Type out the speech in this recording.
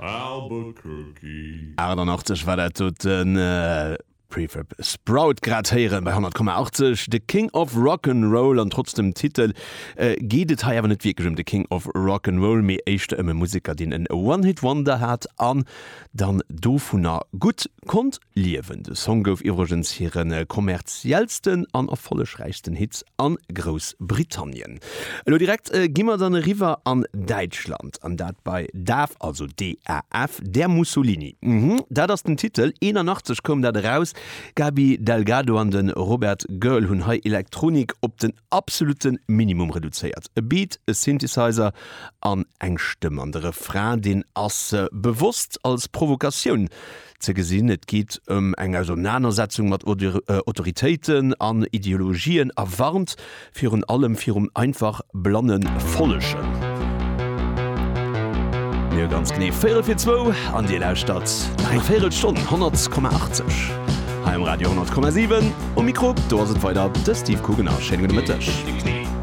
Albuquerque. 88 war dat doten Prefab Sprout grad héieren bei 100,80. The King of Rock 'n' Roll an trotz dem Titel geet et hei awer net wierklech ëm de King of Rock 'n' Roll, mee éischter ëm e Museker deen en One Hit Wonder hat an dann dovunner gutt konnt liewen. De Song gouf iwwregens hire kommerziellsten an erfollegräichsten Hit a Groussbritannien. Elo direkt gi mer dann eriwwer an Däitschland, an dat bei Daf, also DAF, Der Mussolini. Mhm, dat ass den Titel. 81 koum dat eraus. Gaby Delgado an de Robert Görl hunn hei Elektronik op den absolutte Minimum reduzéiert. E Beat, e Synthesizer an eng Stëmm. An de Refrain, deen ass bewosst als Provokatioun ze gesinn. Et geet ëm eng Ausernanersetzung mat Autoritéiten an Ideologien a warnt virun allem virum einfach blanne Follegen. Mir hu ganz genee véierel fir zwou an Dir lauschtert nach eng Véierelstonn 100,80 hei um Radio 100,7. Um Mikro do ass et weider de Steve Kugener. Schéine gudde Mëtteg.